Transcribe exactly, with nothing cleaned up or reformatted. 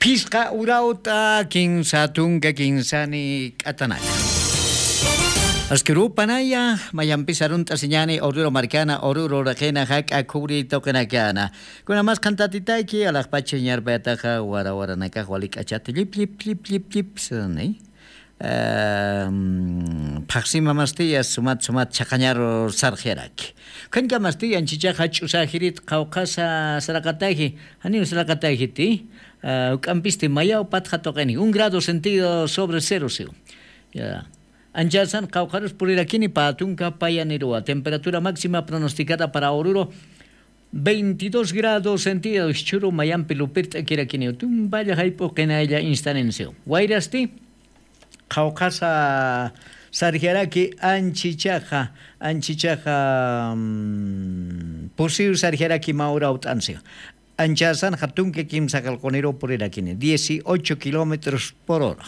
Phisqa urawt'a kinsa tunka kinsani k'atanaka. Askirupanaya, mayampis arunt'asiñani Oruro markana, Oruro raqina, jak'a khuri tuqinakana. Kuna mas qhantatitaki, alaqpacha ñarpayataqa wara waranakax wali k'achata llip llip llip llip llip sani. Em, phaqsima mastiyas sumat sumat chhaqañaru sarxyaraki. Khañka mastiya anchichaqa ch'usajirit qawqhasa saraqataji, janiw saraqatajiti. Uk'ampisti mayaw patxa tuqini, un grado sentido sobre cero siw. Ya. Anchasan qawqharus purirakini pä tunka payaniruwa. Temperatura máxima pronosticada para Oruro, veintidós grados centígrados. Chhuru mayampi lupirt'akirakiniw tumpalla jayp'u qinaylla instanensiw. Wayrasti qhawqhasa sarjaraki anchichaqa, anchichaqa mm, pusiw sarjaraki mawraw t'ansiw. Anchasanxa tunka kimsa qalquniru purirakini dieciocho kilómetros por hora.